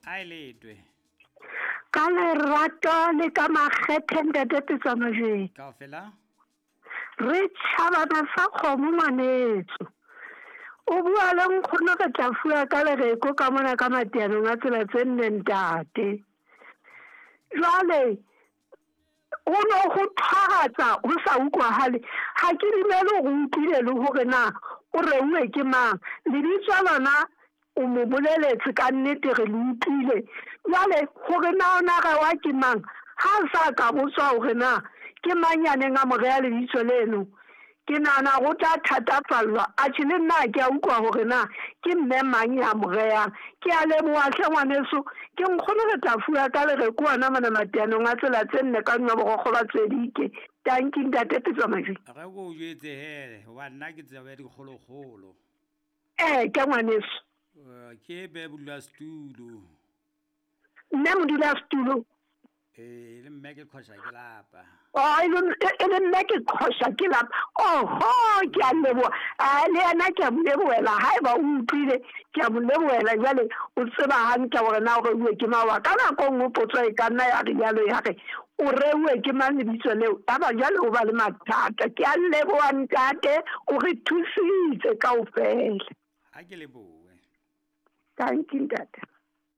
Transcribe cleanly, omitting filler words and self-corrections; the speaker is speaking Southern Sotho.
A e letwe. Ka lerato le ka makgethe ntate Petswa Majweng. Kaofela. Re tjhabana sa kgomo ngwanetso. O bua le nkgono re tla fuwa ka lereko ka mona ka mateanong a tsela tse nne ntate. Jwale ho no ho thwaratsa ho sa utlwahale. Ha ke dumele hore o utlwile le hore na o reuwe ke mang. Lebitso lona o mo boleletse ka nnete re le utlwile. Jwale hore na o na rewa ke mang, ha a sa ka botswa hore na ke mang ya neng a mo reha lebitso leno, ke nahana hore o tla thatafallwa. Atjhe le nna ha ke a utlwa hore na ke mme mang ya mo rehang. Ke a leboha hle ngwaneso. Ke nkgono re tla fuwa ka lereko hona mona mateanong a tsela tse nne ka nwa borokgo ba Tswedike. Tanki ntate Petswa Majweng. Re ko o jwetse he, hoba nna ke tseba ya dikgolokgolo. Ee, ke ngwaneso. Ke be modulasetulo. Mme modulasetulo. Ee, le mme ke qhosha ke lapa. Oh, e le mme ke qhosha ke lapa. Oho, ke a leboha. A le yena ke a mo lebohela. Haeba o utlwile, ke a mo lebohela. Jwale o tseba hantle hore na o reuwe ke mang wa ka. Nako e nngwe potso e ka nna ya re jwalo ya re, o reuwe ke mang lebitso leo? Yaba jwale o ba le mathata. Ke a leboha ntate, o re thusitse kaofela. Ha ke lebohe. Thank you ntate.